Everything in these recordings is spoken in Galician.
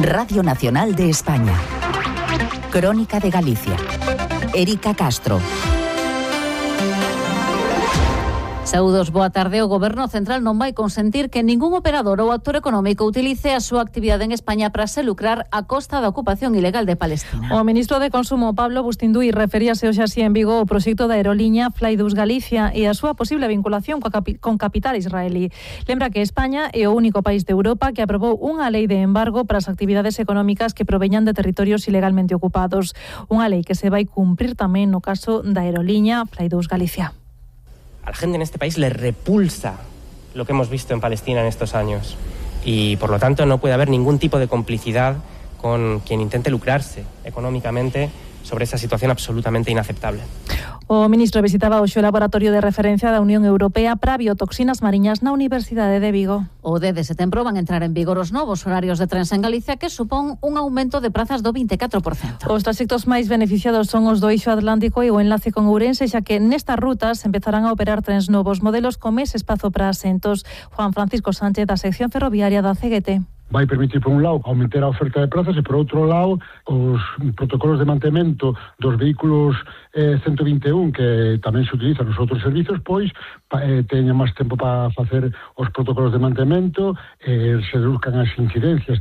Radio Nacional de España. Crónica de Galicia. Erika Castro. Saúdos, boa tarde. O Goberno Central non vai consentir que ningún operador ou actor económico utilice a súa actividade en España para se lucrar a costa da ocupación ilegal de Palestina. O ministro de Consumo, Pablo Bustinduy, referíase hoxe así en Vigo o proxecto da aeroliña Flydus Galicia e a súa posible vinculación con capital israelí. Lembra que España é o único país de Europa que aprobou unha lei de embargo para as actividades económicas que proveñan de territorios ilegalmente ocupados. Unha lei que se vai cumprir tamén no caso da aeroliña Flydus Galicia. A la gente en este país le repulsa lo que hemos visto en Palestina en estos años y por lo tanto no puede haber ningún tipo de complicidad con quien intente lucrarse económicamente sobre esa situación absolutamente inaceptable. O ministro visitaba hoxe o laboratorio de referencia da Unión Europea para biotoxinas mariñas na Universidade de Vigo. O 10 de setembro van entrar en vigor os novos horarios de trens en Galicia que supón un aumento de prazas do 24%. Os traxectos máis beneficiados son os do Eixo Atlántico e o enlace con Ourense, xa que nestas rutas empezarán a operar trens novos modelos con máis espazo para asentos. Juan Francisco Sánchez, da sección ferroviaria da CGT. Vai permitir, por un lado, aumentar a oferta de plazas e, por outro lado, os protocolos de mantemento dos vehículos 121 que tamén se utilizan nos outros servizos, pois teñan máis tempo para facer os protocolos de mantemento e se reduzcan as incidencias.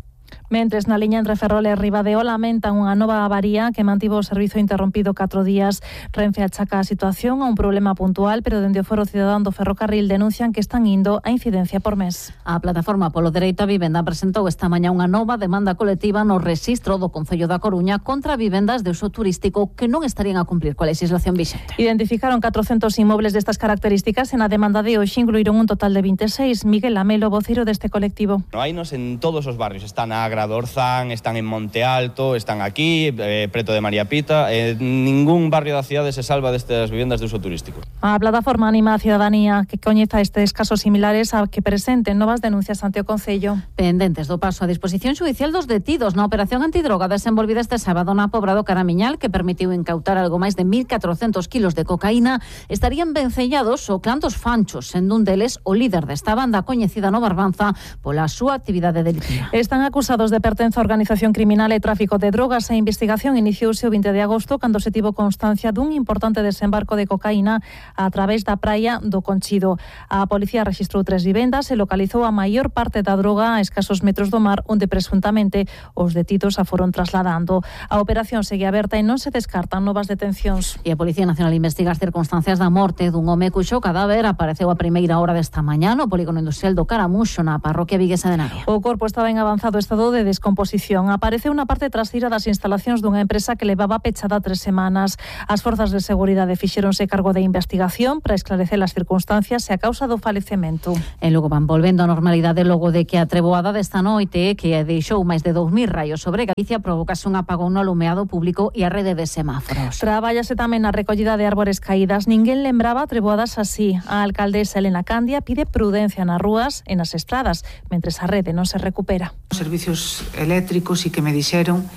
Mentres, na liña entre Ferrol e Ribadeo lamentan unha nova avaría que mantivo o servizo interrompido 4 días. Renfe achaca a situación a un problema puntual, pero dende o Foro Cidadán do Ferrocarril denuncian que están indo a incidencia por mes. A Plataforma polo Dereito á Vivenda presentou esta mañá unha nova demanda colectiva no rexistro do Concello da Coruña contra vivendas de uso turístico que non estarían a cumplir coa legislación vixente. Identificaron 400 inmobles destas características e na demanda de hoxe incluíron un total de 26. Miguel Amelo, vocero deste colectivo. No hainos en todos os barrios, están na Agra do Orzán, están en Monte Alto, están aquí, preto de María Pita, ningún barrio da cidade se salva destas vivendas de uso turístico. A plataforma anima a cidadanía que coñeza estes casos similares a que presenten novas denuncias ante o Concello. Pendentes do paso a disposición xudicial dos detidos na operación antidroga desenvolvida este sábado na Pobra do Caramiñal, que permitiu incautar algo máis de 1.400 kilos de cocaína, estarían vencellados o clan dos Fanchos, sendo un deles o líder desta banda coñecida no Barbanza pola súa actividade delictiva. Están acusados de pertenza a organización criminal e tráfico de drogas. A investigación iniciouse o 20 de agosto cando se tivo constancia dun importante desembarco de cocaína a través da praia do Conchido. A policía rexistrou 3 vivendas e localizou a maior parte da droga a escasos metros do mar, onde presuntamente os detidos a foron trasladando. A operación segue aberta e non se descartan novas detencións. E a Policía Nacional investiga as circunstancias da morte dun home cuxo cadáver apareceu a primeira hora desta mañá no polígono industrial do Caramuxo, na parroquia viguesa de Navia. O corpo estaba en avanzado estado de descomposición. Apareceu na parte traseira das instalacións dunha empresa que levaba pechada 3 semanas. As forzas de seguridade fixéronse cargo da investigación para esclarecer as circunstancias e a causa do falecemento. E logo van volvendo a normalidade logo de que a treboada desta noite, que deixou máis de 2.000 raios sobre Galicia, provocase un apagón no alumeado público e a rede de semáforos. Trabállase tamén na recollida de árbores caídas. Ninguén lembraba treboadas así. A alcaldesa Elena Candia pide prudencia nas rúas e nas estradas, mentres a rede non se recupera. Os servicios eléctricos e que me dixeron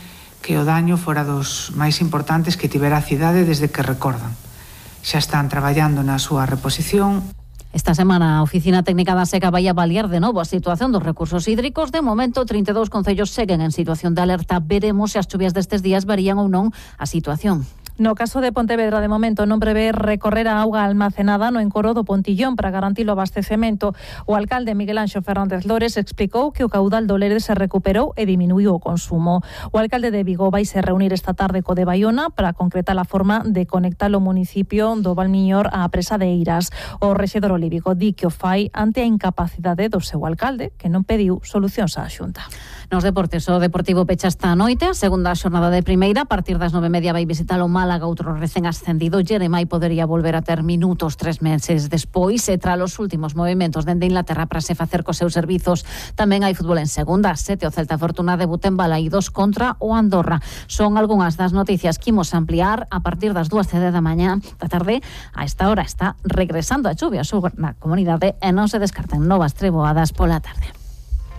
que o daño fora dos máis importantes que tivera a cidade desde que recordan. Xa están traballando na súa reposición. Esta semana a Oficina Técnica da Seca vai avaliar de novo a situación dos recursos hídricos. De momento, 32 concellos seguen en situación de alerta. Veremos se as chuvias destes días varían ou non a situación. No caso de Pontevedra, de momento, non prevé recorrer a auga almacenada no encoro do Pontillón para garantir o abastecemento. O alcalde Miguel Anxo Fernández Lores explicou que o caudal do Lere se recuperou e diminuiu o consumo. O alcalde de Vigo vai se reunir esta tarde co de Baiona para concretar a forma de conectar o municipio do Valmiñor á presa de Eiras. O rexedor olívico di que o fai ante a incapacidade do seu alcalde, que non pediu solucións á Xunta. Nos deportes, o Deportivo pecha esta noite a segunda xornada de primeira. A partir das 9:30 vai visitar o Málaga, outro recén ascendido. Jeremai podería volver a ter minutos 3 meses despois e tras os últimos movimentos dende Inglaterra para se facer cos seus servizos. Tamén hai fútbol en segunda. 7 o Celta Fortuna debuta en Balaídos contra o Andorra. Son algunhas das noticias que imos ampliar a partir das 2:30 da mañá da tarde. A esta hora está regresando a chuvia na comunidade e non se descartan novas treboadas pola tarde.